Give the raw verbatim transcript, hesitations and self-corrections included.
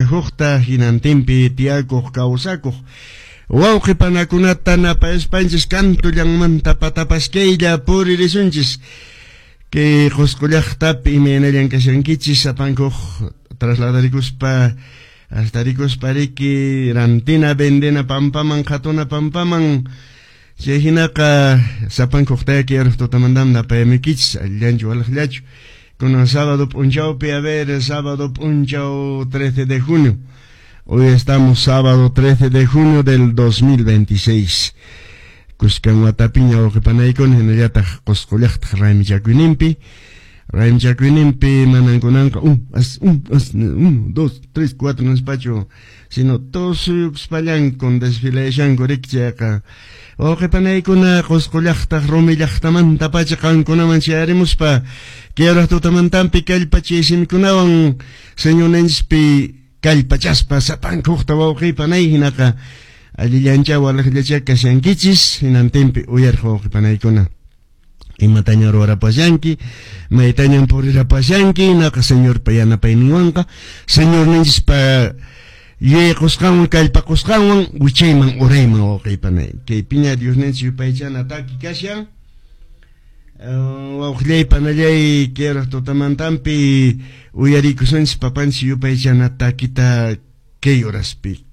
sapanka hinantinpi tiyakuq kawsakuq wawqi panakunata napayaspanchis kantullanmanta patapaskaylla puririsunchis kay Qusqu llaqtapi imaynallan kashankichis sapankuq trasladarikuspa astarikuspa riki rantina vendena pampaman qhatuna pampaman chay hinaqa sapankuq tayaki yaraq tutamantami napayamikichis allillanchu walaqllachu kunan sábado p'unchawpi a ver sábado p'unchaw trece de junio. Hoy estamos sábado trece de junio del dos mil veintiséis. Kuskan watapiña wawqipanaykuna hinallataq Qusqu llaqtaq raymichakuyninpi. Raymichakuyninpi manan kunanqa un, as, un, as, uno, dos, tres, cuatro nispachu, sino tusuyukuspallanku desfilashanku riki chayqa. Wawqipanaykuna Qusqu llaqtaq rumi llaqtamantapacha qankunaman chayarimuspa kay tutamantanpi kallpachay simikunawan Señorninchispi kallpachaspa sapankuqta wawqipanay hinaqa allillancha walaqllacha kashankichis hinantinpi uyariq wawqipanaykuna imataña ruwarapashanki maytañan purirapashanki hinaqa Señorpa yanapayninwanqa Señorninchispa yuyayqusqanwan kallpaqusqanwan wichayman urayman wawqipanay kaypiña Diosninchis yupaychana taki kashan wawqillay panallay kay tutamantanpi uyarikusunchis papanchis yupaychana takita kay horaspi.